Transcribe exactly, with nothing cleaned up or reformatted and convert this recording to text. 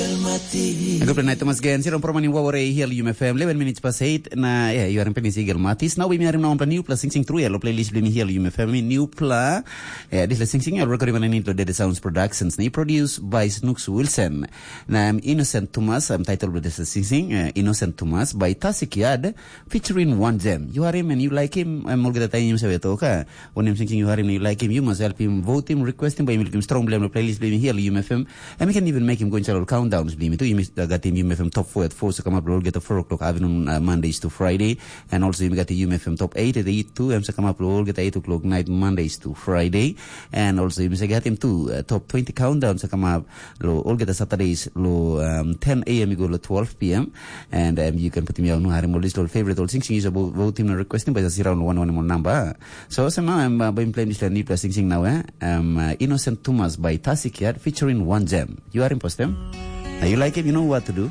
Good night, Thomas Gen. Sirong proman in waware hiel U M F M. Eleven minutes past eight. Na, yeah, you are in Penis Eagle Matis. Now we are now on new plus sing sing through yellow playlist blim hiel U M F M. New pla. Yeah, this is sing sing. Recording on Nintendo Data Sounds Productions. Ni produced by Snooks Wilson. Na I'm Innocent Thomas. I'm titled with this sing sing. Uh, Innocent Thomas by Tasik Yad featuring One Gem. You are him and you like him. I'm all the time you say, okay. Wanem sing sing yu harim na yu laikim, yu mas helpim votim, requestim bai yu lukim strong bilem lo playlist bilem hiel U M F M. And we can even make him go inside all countdowns bilem tu. Yumi gatim U M F M top four at four, so come up lo olgeta four o'clock afternoon, uh, Mondays to Friday. And also yumi gatim U M F M top eight at eight too. Em sa come up lo olgeta eight o'clock night Mondays to Friday. And also yumi sa gatim too, uh, top twenty countdown sa come up lo olgeta Saturdays lo, um, ten a m i go lo twelve p m. And, um, you can put me on harim all this lo favorite all sing sing yu sa votim na requestim bai sa sirau lo one one mo number. So, so now I'm, uh, been playing this new plus sing sing now, eh? Um, uh, Innocent Thomas by Tasik Yad featuring One Gem. You are impostem. Uh, you like him, you know what to do.